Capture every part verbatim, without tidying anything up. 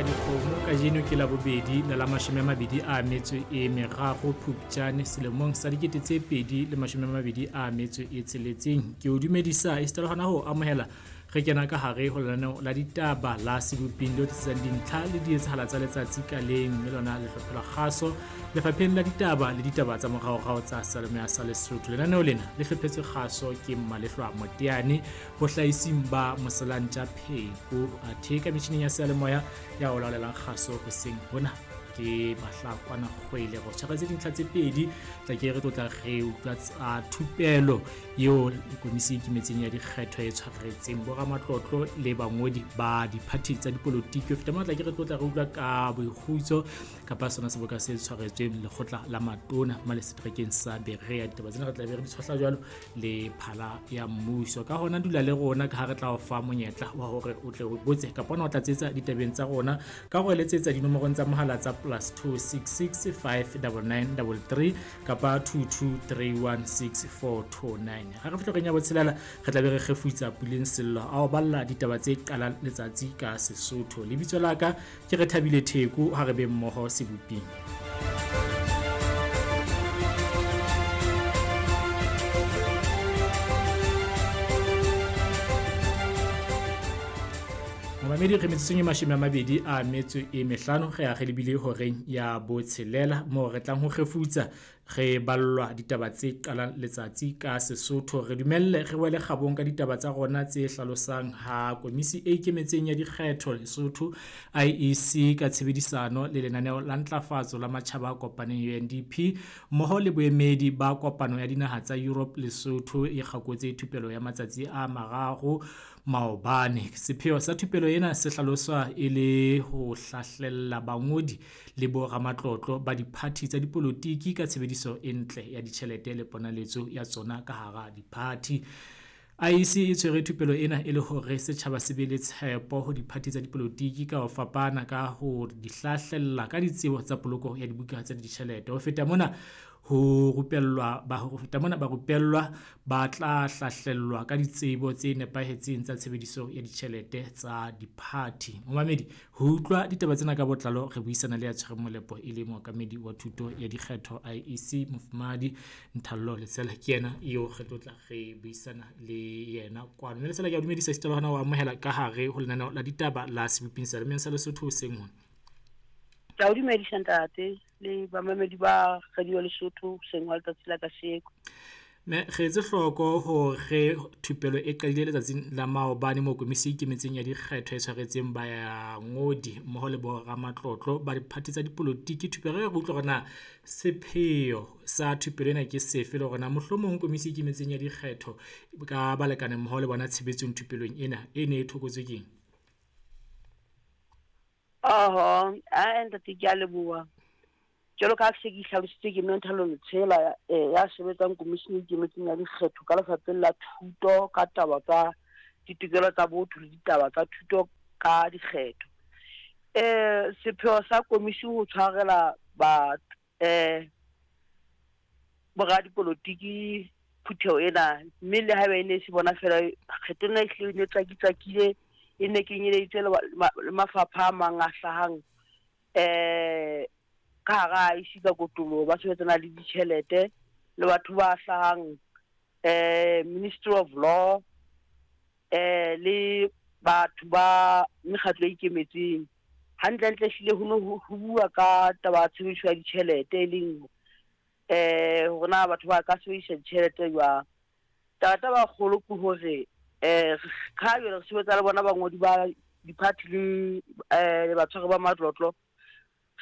dikgomo. Kajeno ke la bobedi la la mashome a mabedi a metso e meraro Phupjane selemong sa dikete tse pedi le mashome a mabedi a metso e tsheletseng. Ke o dumedisa esita le hona ho amohela re kena ka hare ho lenaneo la ditaba la Seboping le tlisang dintlha le dietsahala tsa letsatsi ka leng, mme lona le hlophelwa kgaso lefapheng la ditaba le ditaba tsa moraorao tsa Seyalemoya sa Lesotho. Lenaneo lena le hlophetswe kgaso ke Mmalehloa Moteane, bohlahising ba Moselantja Pheko, athe ka metjhining ya seyalemoya ya o laolelang kgaso hoseng hona ke Mahlakwana Kgwele. Go tshwaretse dintlha tse pedi, tla ke re tlotla re utlwa tsa thupelo eo komisi e ikemetseng ya dikgetho e tshwaretseng boramatlotlo le bangodi ba diphathi tsa dipolotiki. Ho feta mona tla ke re tlotla re utlwa ka boikgutso kapa sona seboka se tshwaretsweng lekgotla la matona male seterekeng sa Berea. Ditaba tsena re tla be re di tshohla jwalo le phala ya mmuso. Ka hona dula le rona ka ha re tla o fa monyetla wa hore o tle o botse kapa ona o tlatsetsa ditabeng tsa rona ka ho letsetsa dinomorong tsa mohala tsa plus two six six five nine nine three three kapa two two three one six four two nine. Ha re fihla reng ya botshelela re tla be re kgefutsa Puleng Sello a o balla ditaba tse qalang letsatsi ka Sesotho. Lebitso la ka ke re Thabile Theko, ha re be mmoho Seboping. Momamedi, re metsotsong e mashome a mabedi a metso e mehlano re a re lebile horeng ya botshelela moo re tlang ho kgefutsa re ballwa ditaba tse qalang letsatsi ka Sesotho. Re dumelle re wele kgabong ka ditaba tsa rona tse hlalosang ha komisi e ikemetseng ya dikgetho Lesotho I E C ka tshebedisano le lenaneo la ntlafatso la matjhaba a kopaneng U N D P mmoho le boemedi ba kopano ya dinaha tsa Europe Lesotho e kgakotse thupelo ya matsatsi a mararo maobane. Sepheo sa thupelo ena se hlaloswa e le ho hlahlella bangodi le boramatlotlo ba diphathi tsa dipolotiki ka tshebediso e ntle ya ditjhelete le ponaletso ya tsona ka hara diphathi. I E C e tshwere thupelo ena e le hore setjhaba se be le tshepo ho diphathi tsa dipolotiki ka ho fapana ka ho di hlahlella ka ditsebo tsa poloko ya dibuka tsa ditjhelete. Ho feta mona ho rupellwa ba ho feta mona ba rupellwa ba tla hlahlellwa ka ditsebo tse nepahetseng tsa tshebediso ya ditjhelete tsa diphathi. Momamedi, ho utlwa ditaba tsena ka botlalo re buisana le ya tshwereng molepo e le mookamedi wa thuto ya dikgetho I E C Mofumahadi Nthallo Letsela, ke yena eo re tlotla re buisana le yena kwano. Mme Letsela, ke a dumedisa esita le hona ho amohela ka hare ho lenaneo la ditaba la Seboping Seyalemoyeng sa Lesotho hoseng hona. Ke a o dumedisa ntate le bamamedi ba Radio Lesotho hoseng hwa letsatsi la kasheko. Mme re etse hloko hore thupelo e qadile letsatsing la maobane moo komisi e ikemetseng ya dikgetho e tshwaretseng bangodi mmoho le boramatlotlo ba diphathi tsa dipolotiki. Thupelo e re utlwa hore na sepheo sa thupelo ena ke sefe le hore na mohlomong komisi e ikemetseng ya dikgetho ka balekane mmoho le bona tshebetsong thupelong ena e ne e thokotswe keng? Oho, a ntate ke a leboha. Jwalo ka ha se ke hlalositse ke mme Nthallo Letshela ya sebetsang komisheneng e ikemetseng ya dikgetho ka lefapheng la thuto ka taba tsa ditokelo tsa botho le ditaba tsa thuto ka dikgetho. Eh sepheo sa komishini ho tshwarela ba eh boradipolotiki phutheho ena, mme le haeba e ne se bona fela kgetho ena e hlile e ne tswakitswakile, e ne kenyeleditse le mafapha a mang a hlahang eh ka hara I E C ka kotloloho ba sebetsana le ditjhelete le batho ba hlahang eh Ministry of Law eh le batho ba mekgatlo e ikemetseng. Hantlentle hlile ho no ho bua ka taba ya tshebediso ya ditjhelete e leng eh hore na batho ba ka sebedisa ditjhelete jwang. Taba taba kgolo ke hore eh ka jwale re sebetsa le bona bangodi ba diphathi le eh batshwari ba matlotlo,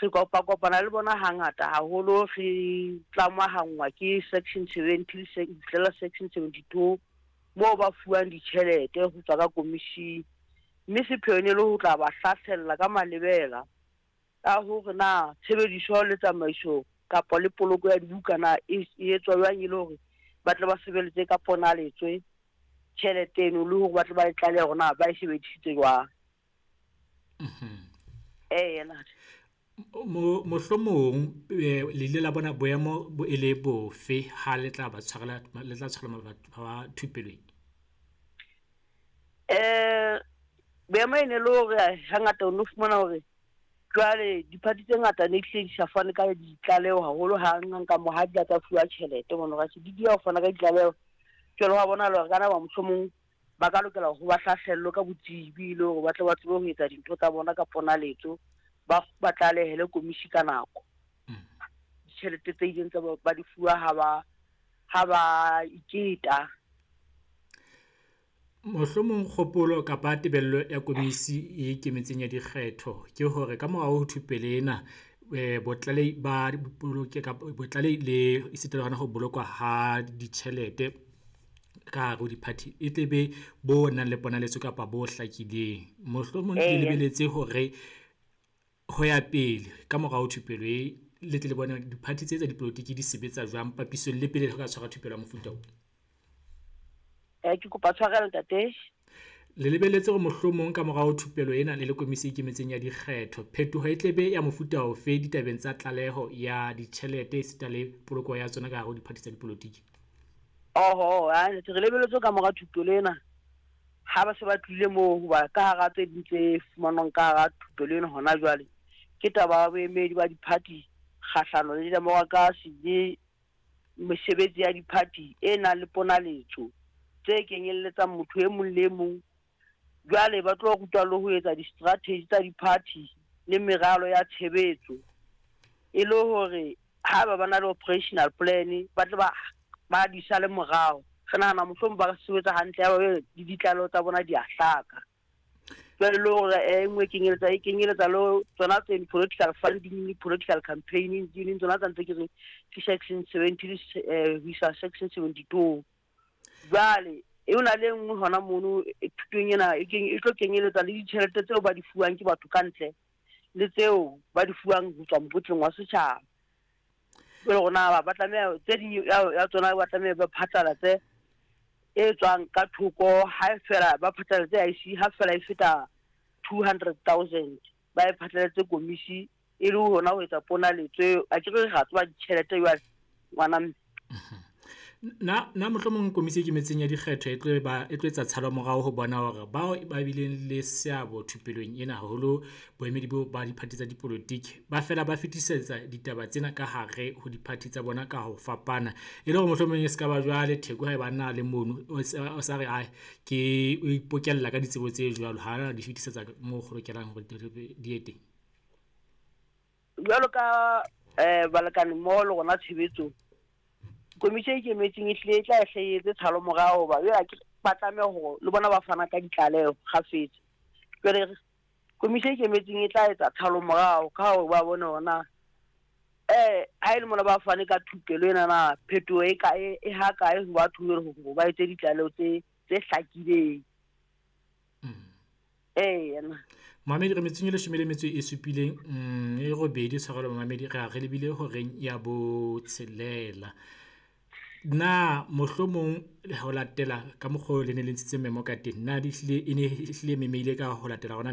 re kopa kopana le bona hangata haholo, re tlamahangwa ke section seventy fihlela section seventy-two moo ba fuwang ditjhelete ho tswa ka komishini, mme sepheo e ne le ho tla ba hlahlella ka malebela ka hore na tshebediso le tsamaiso kapa le poloko ya dibuka na e etswa jwang e le hore ba tle ba sebeletse ka ponaletswe tjhelete eno le hore ba tle ba e tlalehe hore na ba e sebedisitse jwang. Eh yena Mohlomong le ile la bona boemo bo e le bofe ha le tla ba tshwarela le tla tshwarela batho ba thupelong? Eh boemo e ne le hore hangata o no fumana hore Jwale diphathi tse ngata ne hlile di sa fane ka ditlaleho haholo hang ka mo ha di tsa fuwa tjhelete mono ka di di ya ho fana ka ditlaleho. Jwale wa bona hore kana ba mohlomong ba ka lokela ho ba hlahlello ka botsebi le hore ba tle ba tsebe ho etsa dintho tsa bona ka ponaletso, ba ba tlalehele komisi ka nako. Ditjhelete tse ileng tsa ba di fuwa ha ba ha ba iketa. Mohlomong kgopolo kapa tebello ya komisi e ikemetseng ya dikgetho ke hore ka morao ho thupelo ena botlalehi ba boloke kapa botlalehi le esita le hona ho bolokwa ha ditjhelete ka hare ho di-party e tle be bo nang le ponaletso kapa bo hlakileng. Mohlomong le lebeletse hore ho ya pele ka morao ho thupelo e le tle le bone di-party tse tsa dipolotiki di sebetsa jwang papisong le pele ho ka tshwara thupelo ya mofuta o. Eh ke kopa tshwarelo ntate. Le lebelletse hore mohlomong ka morao thupelo ena le le komisi e ikemetseng ya dikgetho, phetoho e tle be ya mofuta ofe ditabeng tsa tlaleho ya ditjhelete esita le poloko ya tsona ka hare ho di-party tsa dipolotiki? Oho, a re lebelletse ka mora thupelo ena ha ba se ba tlile moo hoba ka hara tse ding tse fumanwang ka hara thupelo ena hona jwale ke taba ya boemedi ba di-party kgahlano le demokrasi le mesebetsi ya di-party e nang le ponaletso tse kenyelletsang motho e mong le e mong. Jwale ba tlo rutwa le ho etsa di-strategy tsa di-party le meralo ya tshebetso e le hore ha ba ba na le operational plan ba tle ba ba di sale morao. Re nahana mohlomong ba sebetsa hantle ya ba le ditlaleho tsa bona di a hlaka. Jwale le hore e nngwe e kenyeletsa e kenyeletsa le tsona tse political funding le political campaigning di leng tsona tsa ntse ke re ke section seventy ho isa section seventy-two. Jwale e ona le nngwe hona mono thutong ena e keng e tlo kenyeletsa le ditjhelete tseo ba di fuwang ke batho ka ntle le tseo ba di fuwang ho tswa mokotleng wa setjhaba. Jwale rona ba tlameha tse ding ya tsona ba tlameha ba phatlalatse e tswang ka thoko ha fela ba phatlalatse I C ha fela e feta two hundred thousand ba e phatlalatse komisi e le hona ho etsa ponaletso. A ke re ra tseba ditjhelete jwale ngwana mme. Na na mohlomong komisi e ikemetseng ya dikgetho e tlo ba e tlo etsa tshalo morao ho bona hore bao ba bileng le seabo thupelong ena haholo boemedi bo ba di-party tsa dipolotiki ba fela ba fetisetsa ditaba tsena ka hare ho di-party tsa bona ka ho fapana e le hore mohlomong e se ka ba jwale Theko ha e ba na le mono o sa re ai ke o ipokella ka ditsebo tse jwalo ha na di fetisetsa moo go lokelang hore di ye teng. Jwalo ka eh balekane mmoho le rona tshebetsong, komisi e ikemetseng e hlile e tla hle etse tshalo morao hoba jwale ke ba tlameha hore le bona ba fana ka ditlaleho kgafetsa. Jwale komisi e ikemetseng e tla etsa tshalo morao ka hore ba bone hore na eh ha e le mona ba fane ka thupelo ena na phetoho e kae e ha kae ho batho hore ba etse ditlaleho tse tse hlakileng. Eh yena Mamedi re metsong e leshome le metso e supileng e robedi tshwarelo mamedi re a re lebile horeng ya botshelela. Na mohlomong ho latela ka mokgwa o le ne le ntshitse memo ka teng, na di hlile e ne hlile memeile ka ho latela hona